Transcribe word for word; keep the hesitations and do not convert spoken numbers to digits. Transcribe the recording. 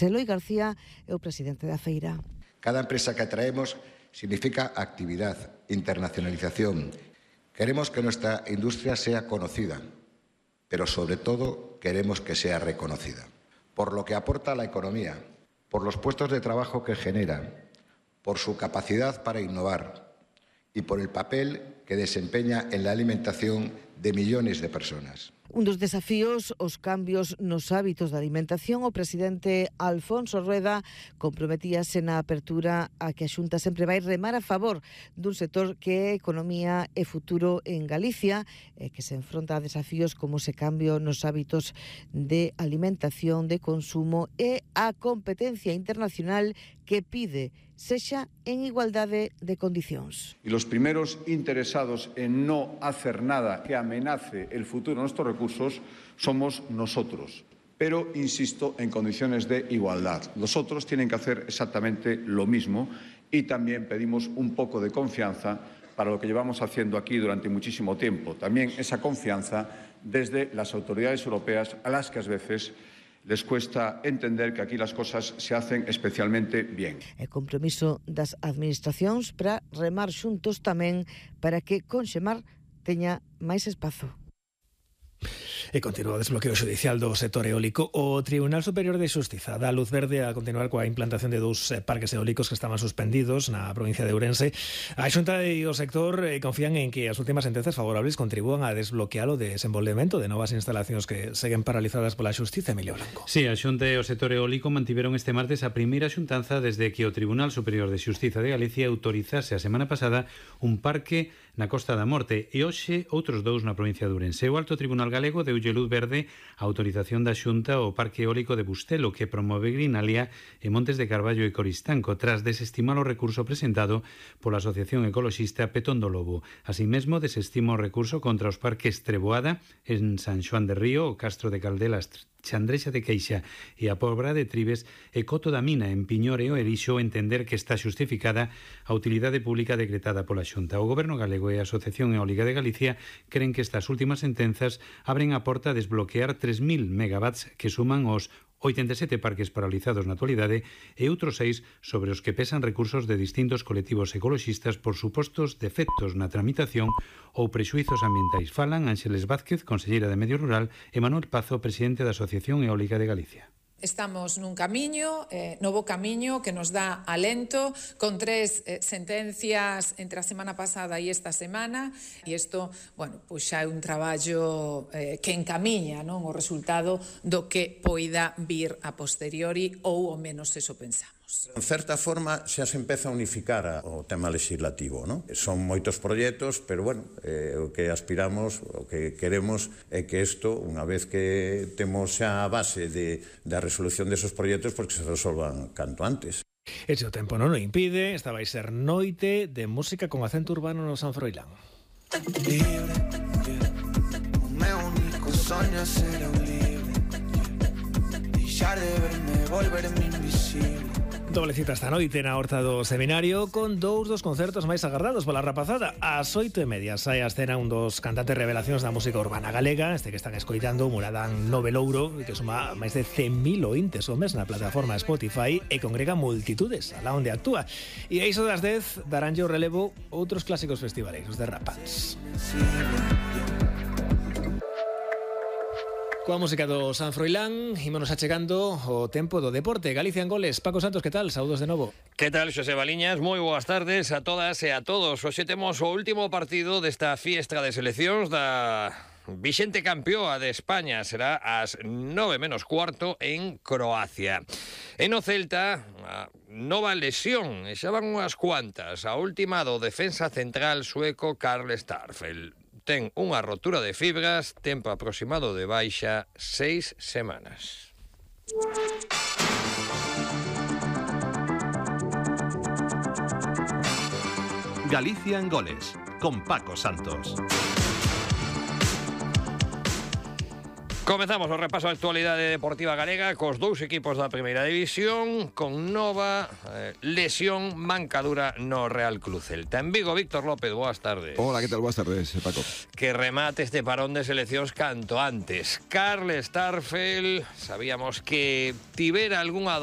Eloi García é o presidente da feira. Cada empresa que atraemos significa actividad, internacionalización. Queremos que nuestra industria sea conocida, pero sobre todo queremos que sea reconocida por lo que aporta a la economía, por los puestos de trabajo que genera, por su capacidad para innovar y por el papel que desempeña en la alimentación de millones de personas. Un dos desafíos, os cambios nos hábitos da alimentación. O presidente Alfonso Rueda comprometíase na apertura a que a Xunta sempre vai remar a favor dun sector que é economía e futuro en Galicia, e que se enfronta a desafíos como ese cambio nos hábitos de alimentación, de consumo e a competencia internacional que pide sexa en igualdade de condicións. Y los primeros interesados en no hacer nada que amenace el futuro de nuestros recursos somos nosotros. Pero, insisto, en condiciones de igualdad. Los otros tienen que hacer exactamente lo mismo y también pedimos un poco de confianza para lo que llevamos haciendo aquí durante muchísimo tiempo. También esa confianza desde las autoridades europeas, a las que a veces les cuesta entender que aquí las cosas se hacen especialmente bien. E compromiso das administracións para remar xuntos tamén para que Conxemar teña máis espazo. E continúa o desbloqueo xudicial do sector eólico. O Tribunal Superior de Xustiza dá luz verde a continuar coa implantación de dous parques eólicos que estaban suspendidos na provincia de Ourense. A Xunta e o sector confían en que as últimas sentenzas favorables contribúan a desbloquear o desenvolvemento de novas instalacións que seguen paralizadas pola Xustiza. Emilio Blanco. Sí, a Xunta e o sector eólico mantiveron este martes a primeira xuntanza desde que o Tribunal Superior de Xustiza de Galicia autorizase a semana pasada un parque na Costa da Morte e hoxe outros dous na provincia de Ourense. O Alto Tribunal Galego deulle luz verde a autorización da Xunta ao Parque Eólico de Bustelo, que promove Grinalia e Montes de Carballo e Coristanco, tras desestimar o recurso presentado pola Asociación Ecoloxista Petón do Lobo. Así mesmo, desestima o recurso contra os parques Treboada en San Xoán de Río, o Castro de Caldelas, Chandrexa de Queixa e a Pobra de Tribes e Coto da Mina en Piñor e o Erixo entender que está xustificada a utilidade pública decretada pola Xunta. O Goberno galego e a Asociación Eólica de Galicia creen que estas últimas sentenzas abren a porta a desbloquear tres mil megawatts que suman os oitenta e sete parques paralizados na actualidade e outros seis sobre os que pesan recursos de distintos colectivos ecoloxistas por supostos defectos na tramitación ou prexuizos ambientais. Falan Ángeles Vázquez, conselleira de Medio Rural, e Manuel Pazo, presidente da Asociación Eólica de Galicia. Estamos nun camiño, eh, novo camiño que nos dá alento, con tres eh, sentencias entre a semana pasada e esta semana, e isto, bueno, pois xa é un traballo eh, que encamiña, non, o resultado do que poida vir a posteriori ou ao menos eso pensamos. En certa forma xa se empeza a unificar a, o tema legislativo, non? Son moitos proxectos, pero bueno, eh, o que aspiramos, o que queremos é que isto, unha vez que temos xa a base de, da resolución desos proxectos, porque se resolvan canto antes. Ese o tempo non o impide, esta vai ser noite de música con acento urbano no San Froilán. Libre, o meu único soño é ser un libre, deixar de verme, volverme invisible. Doble cita esta noite na Horta do Seminario con dous dos concertos máis agardados pola rapazada. Ás oito e media sai a escena un dos cantantes revelacións da música urbana galega, este que están escoitando, Muradán Novelouro, que suma máis de cen mil ointes o mes na plataforma Spotify e congrega multitudes alá onde actúa. E a iso das dez daránlle o relevo outros clásicos festivaleiros de rapaz. Coa música do San Froilán, ímonos achegando o tempo do deporte. Galicia en goles. Paco Santos, que tal? Saúdos de novo. Que tal, Xosé Baliñas? Moi boas tardes a todas e a todos. Hoxe temos o último partido desta fiestra de seleccións da vixente campeoa de España. Será ás nove menos cuarto en Croacia. E no Celta, a nova lesión, e xa van unhas cuantas. A última do defensa central sueco Karl Starfelt. Ten unha rotura de fibras, tempo aproximado de baixa seis semanas. Galicia en goles, con Paco Santos. Comezamos o repaso da actualidade deportiva galega cos dous equipos da primeira división con nova eh, lesión mancadura no Real Club Celta. En Vigo, Víctor López, boas tardes. Hola, que tal? Boas tardes, Paco. Que remate este parón de seleccións canto antes. Karl Starfelt, sabíamos que tivera algunha